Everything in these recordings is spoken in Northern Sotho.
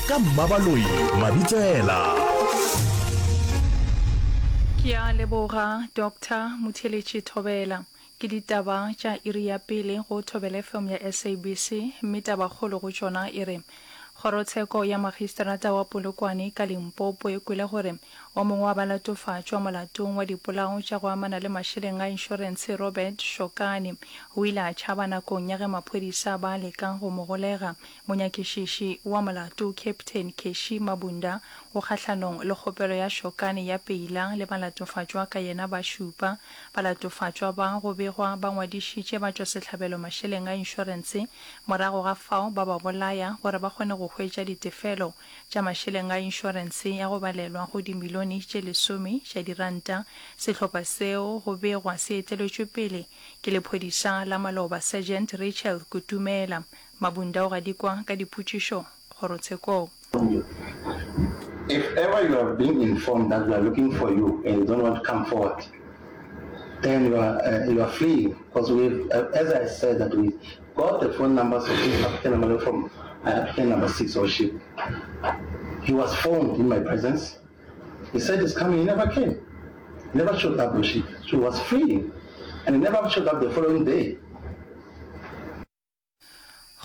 Ka Mmabaloi Mabitsela. Ke a leboga Doctor Motheeletši Thobela. Ke ditaba tša iri ya pele go Thobela FM ya SABC mme tabakgolo go tšona e re, Kgorotsheko ya Magistrata wa Polokwane ka Limpopo e kwele gore o mongwe wa balatofatšwa molatong wa dipolao tša go amana le mašeleng a inšorentshe Robert Shokane o ile a tšhaba nakong ya ge maphodisa ba leka go mo golega. Monyakišiši wa molato Captain Keshi Mabunda o kgahlanong le kgopelo ya Shokane ya peila le balatofatšwa ka yena ba šupa. Balatofatšwa ba go begwa ba ngwadišitše batšwasehlabelo mašeleng a inšorentshe morago ga fao ba ba bolaya gore ba kgone go hwetša ditefelo tša mašeleng a inšorentshe ya go balelwa go dimilione tše lesome tša diranta. Sehlopha seo go begwa se eteletšwe pele ke lephodisa la maloba Sergeant Rachel Kutumela. Mabunda o gadikwa ka dipotšišo kgorotshekong. If ever you have been informed that we are looking for you and you don't want to come forward, then you are, uh, you are fleeing. Because we, uh, as I said, that we got the phone numbers of this applicant number from uh, applicant number six or she. He was phoned in my presence. He said he's coming. He never came. He never showed up. She, she was fleeing. And he never showed up the following day.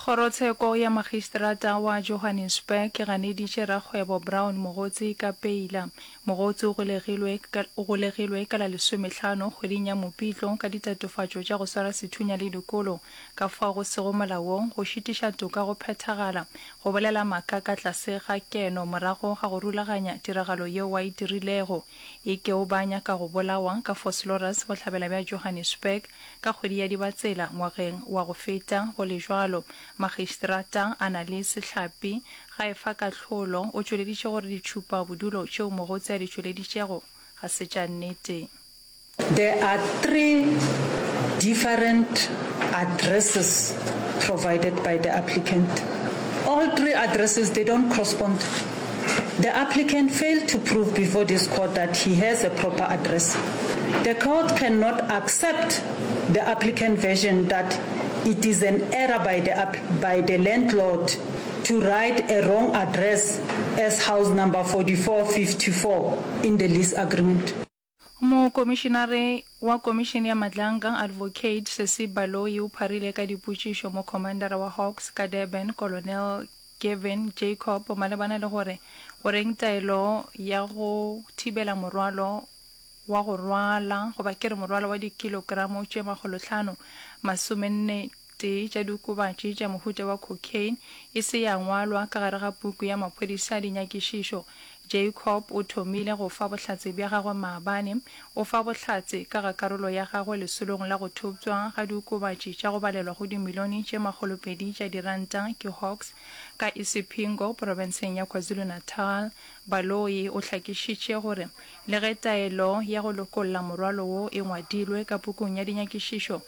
Kgorotsheko ya Magistrata wa Johannesburg e ganeditše rakgwebo Brown Mogotsi ka peila. Mogotsi o golegilwe o golegilwe ka la lesomehlano kgweding ya Mopitlo ka ditatofatšo tša go swara sethunya le dikolo ka fao go sego molaong, go šitiša toka go phethagala, go bolela maaka ka tlase ga keno morago ga go rulaganya tiragalo yeo a e dirilego e ke o ba nyaka go bolawa ka Vosloorus bohlabela bja Johannesburg Ka kgwedi ya Dibatsela ngwageng wa go feta, go le bjalo, Magistrata Annalise Hlapi ga e fa kahlolo, o tšweleditše gore ditšhupa bodulo tšeo Mogotsi a di tšweleditšego ga se tša nnete. There are 3 different addresses provided by the applicant. All 3 addresses they don't correspond. The applicant failed to prove before this court that he has a proper address. The court cannot accept the applicant version that it is an error by the, by the landlord to write a wrong address as house number 4454 in the lease agreement. Mokomišinare wa Komišene ya Madlanga, Advocate Sesi Baloyi o pharile ka dipotšišo mokhomandara wa Hawks ka Durban, Colonel Gavin Jacob malebana le gore goreng taelo ya go thibela morwalo wa go rwala goba ke re morwalo wa dikilokramo tše makgolohlano masomenne tee tša diokobatši tša mohuta wa cocaine e se ya ngwalwa ka gare ga puku ya maphodisa a dinyakišišo. Jacob o thomile go fa bohlatse bja gagwe maabane. O fa bohlatse ka ga karolo ya gagwe lesolong la go thopšwa ga diokobatši tša go balelwa go dimilione tše makgolopedi tša diranta ke Hawks ka Isipingo profenseng ya KwaZulu-Natal. Baloyi o hlakišitše gore le ge taelo ya go lokolla morwalo wo e ngwadilwe ka pukung ya dinyakišišo,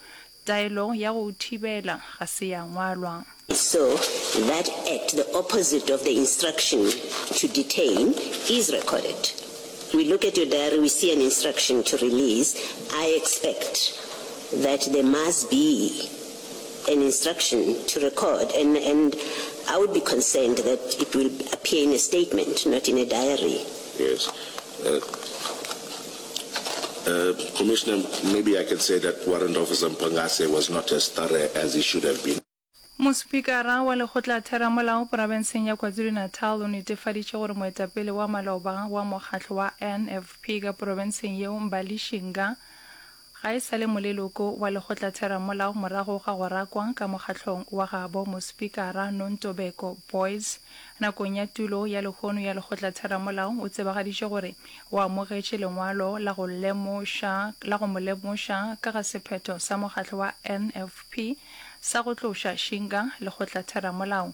Taelo ya go o thibela ga se ya ngwalwa. So that act, the opposite of the instruction to detain, is recorded. We look at your diary, we see an instruction to release. I expect that there must be an instruction to record, and, and I would be concerned that it will appear in a statement, not in a diary. Yes. Uh, uh, Commissioner, maybe I can say that Warrant Officer Mpangase was not as thorough as he should have been. Mospikara wa Lekgotlatheramolao porabenseng ya KwaZulu-Natal o netefaditše gore moetapele wa maloba wa mokgatlo wa NFP ka porobenseng yeo Mbali Shinga Ga e sa le moleloko wa lekgotlatheramolao morago ga go rakwa ka mokgahlong wa gabo Mospikara Nontobeko Boyce nakong ya tulo ya lehono ya lekgotlatheramolao o tsebagaditše gore o amogetše lengwalo la go lemoša la go mo lemoša ka ga sephetho sa mokgatlo wa NFP sa go tloša Shinga lekgotlatheramolao.